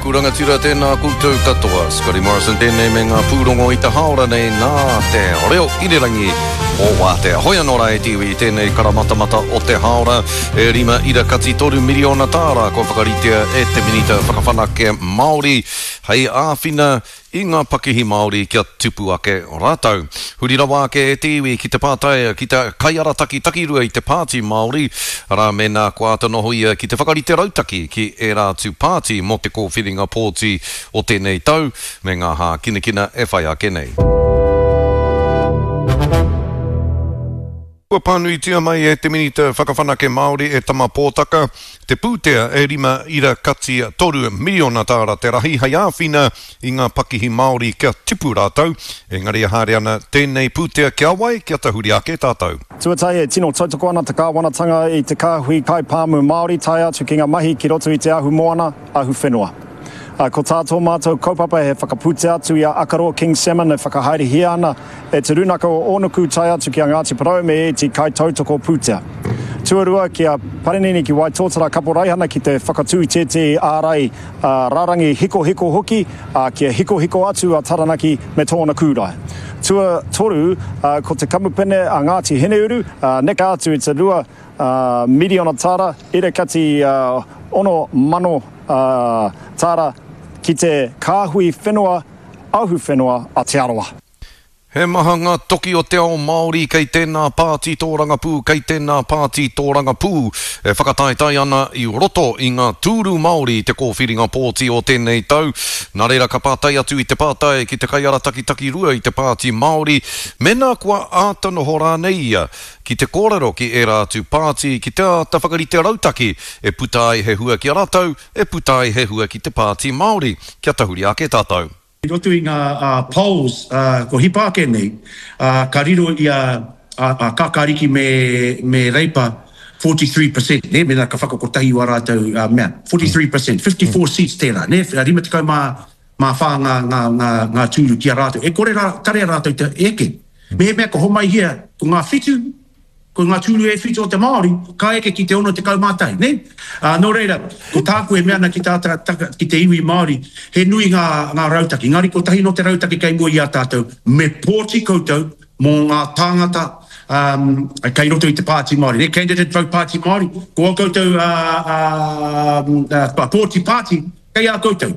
ōku rangatira, tēnā koutou katoa. Scotty Morrison tēnei me ngā pūrongo i te hāora nei nā te reo irirangi o Wātea. Hoi anō rā e te iwi i tēnei karamatamata o te hāora e 5.3 miriona tāra kua whakaritea e te Minita Whakawhanake Māori hei āwhina i ngā pakihi Māori kia tupu ake rātou. Huri rawa ake e te iwi ki te pātai ki te kaiarataki takirua i te Pāti Māori, arā, mēnā kua āta noho ia ki te whakarite rautaki ki ērā atu pāti mō te kōwhiringa pōti o tēnei tau, me ngā hākinakina e whai ake nei. Kua pānuitia mai e te Minita Whakawhanake Māori e Tama Pōtaka te pūtea e rima ira kati toru miriona tāra te rahi hei āwhina i ngā pakihi Māori kia tipu rātou, engari e haere ana tēnei pūtea ki a wai kia tahuri ake tātou. Tuatahi, e tino tautoko ana te kāwanatanga i te kāhui kaipāmu Māori tae atu ki ngā mahi ki roto i te ahumoana, ahuwhenua. Ko tā tō mātou kaupapa he whakapūtea atu i a Akaroa King Salmon e whakahaerehia ana e Te Rūnaka o Ōnuku tae atu ki a Ngāti Porou me ēti kaitautoko pūtea. Tuarua, ki a Parinini ki Waitōtara Kaporaihana ki te whakatū i tētehi ārai rārangi hikohiko hoki, ā, kia hikohiko atu a Taranaki me tōna kūrae. Tuatoru, ko te kamupene a Ngāti Hineuru, neke atu i te 2 miriona tāra, irakati 6,000 tāra ki te kāhui whenua ahuwhenua a Te Arawa. He maha ngā toki o te ao Māori kei tēnā pāti tōrangapū, kei tēnā pāti tōrangapū e whakataetae ana i roto i ngā tūru Māori i te kōwhiringa pōti o tēnei tau. Nā reira ka pātai atu i te pātai ki te kaiarataki takirua i te Pāti Māori mēnā kua āta noho rānei ia ki te kōrero ki ērā atu pāti ki te āta whakarite rautaki e puta ai he hua ki a rātou, e puta ai he hua ki te Pāti Māori. Kia tahuri ake tātou. I roto i ngā polls kua hipa ake nei, ka riro i a Kākāriki me Reipa 43 per cent, nē, mēnā ka whakakotahi wā rātou mea, 43 per cent, 54 seats tērā, nē, 54 ngā tūru ki a rātou. E kore rā, tarea rātou te eke. Mehemea ka homaihia ko ngā whitu, ko ngā tūru e whitu o te Māori, ka eke ki te 61, nē? Ā, nō reira, ko tāku e mea ana ki tā, tā, ki te iwi Māori, he nui ngā, ngā rautaki, engari kotahi nō te rautaki kei mua i a tātou, me pōti koutou mō ngā tāngata, ā, kei roto i te Pāti Māori, nē, candidate vote Pāti Māori, ko ā koutou, ā, ā, ā, pōti pāti kei a koutou.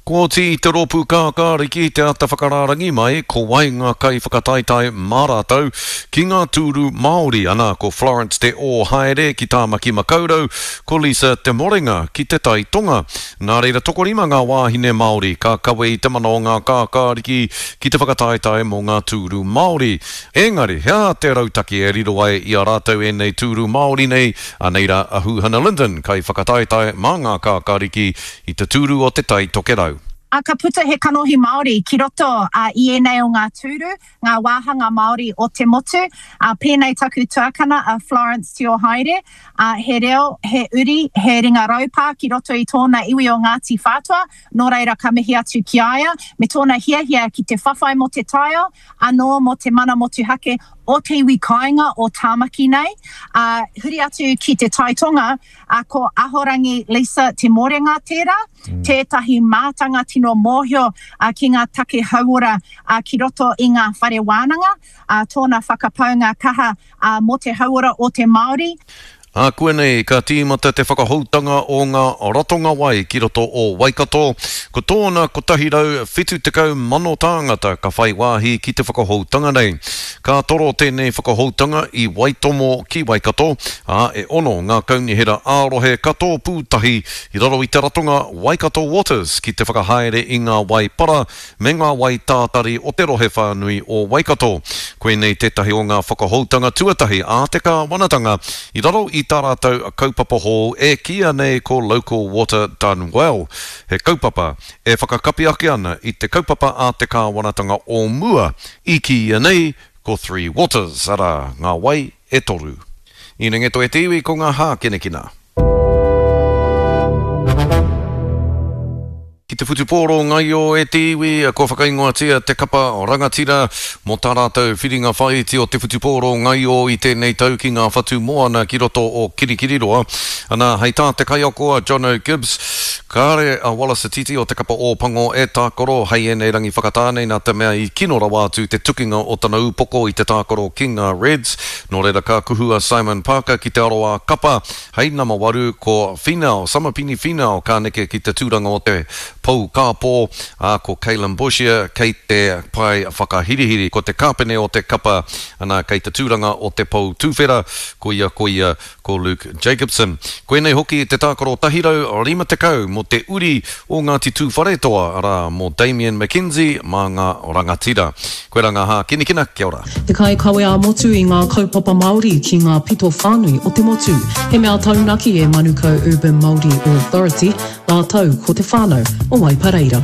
Kua oti i te Rōpū Kākāriki te ata whakarārangi mai ko wai ngā kaiwhakataetae mā rātou ki ngā tūru Māori, ana ko Florence Te Ōhaere ki Tāmaki Makaurau, ko Lisa Te Morenga ki Te Tai Tonga. Nā reira tokorima ngā wāhine Māori ka kawe i te mana o ngā kākāriki ki te whakataetae mō ngā tūru Māori. Engari, he aha te rautaki e riro ai i a rātou ēnei tūru Māori nei? Anei rā a Huhana Lyndon, kaiwhakataetae mā ngā kākāriki i te tūru o Te Tai Tokerau. Ā, ka puta he kanohi Māori ki roto i ēnei o ngā tūru, ngā wāhanga Māori o te motu. Ā, pēnei taku tuakana a Florence Tiohaere, ā, he reo, he uri, he ringa raupā ki roto i tōna iwi o Ngāti Whātua, nō reira ka mihi atu ki a ia, me tōna hiahia ki te whawhai mō te taiao, anō mō te mana motuhake o te iwi kāinga o Tāmaki nei. Ā, huri atu ki Te Tai Tonga, Ā, ko Ahorangi Lisa Te Morenga tērā, tētahi mātanga tino mōhio ki ngā take hauora ki roto i ngā whare wānanga, ā, tōna whakapaunga kaha mō te hauora o te Māori. Ākuanei ka tīmata te whakahoutanga o ngā ratonga wai ki roto o Waikato. Ko tōna 170,000 tāngata ka whai wāhi ki te whakahoutanga nei. Ka toro tēnei whakahoutanga i Waitomo ki Waikato, ā, e ono ngā kaunihera ā-rohe ka tōpū tahi i raro i te ratonga Waikato Waters ki te whakahaere i ngā wai para me ngā wai tātari o te rohe whānui o Waikato. Koinei tētahi o ngā whakahoutanga tuatahi a te kāwanatanga i raro i tā rātou kaupapa hou e kīia nei ko Local Water Done Well, he kaupapa e whakakapi ake ana i te kaupapa a te kāwanatanga o mua i kīia nei ko Three Waters, arā, ngā wai e toru. Inengeto e te iwi ko ngā hākinakina. Ki te whutupōro ngaio e te iwi, kua whakaingoatia te kapa rangatira mō tā rātou whiringa whāiti o te whutupōro ngaio i tēnei tau ki ngā whatu moana ki roto o Kirikiriroa. Ana, hei tā te kaiako a Jono Gibbs, kāre a Wallace Sititi o te kapa Ōpango e tākaro hei ēnei rangi whakatā nei nā te mea i kino rawa atu te tukinga o tana upoko i te tākaro ki ngā Reds. Nō reira ka kuhu a Simon Parker ki te aroā kapa Hei nama waru, ko Finau, Samapini Finau ka neke ki te tūranga o te pou kāpō, ā, ko Kaylum Boshier kei te pae whakahirihiri. Ko te kāpene o te kapa, ana, kei te tūranga o te pou tuwhera, ko ia, ko ia, ko Luke Jacobson. Koinei hoki te tākaro 150 mō te uri o Ngāti Tūwharetoa, arā, mō Damian McKenzie mā ngā rangatira. Koirā ngā hākinakina, kia ora. Te kaikawe ā-motu i ngā kaupapa Māori ki ngā pito whānui o te motu. He mea taunaki e Manukau Urban Māori Authority rātou ko te whānau o Waipareira.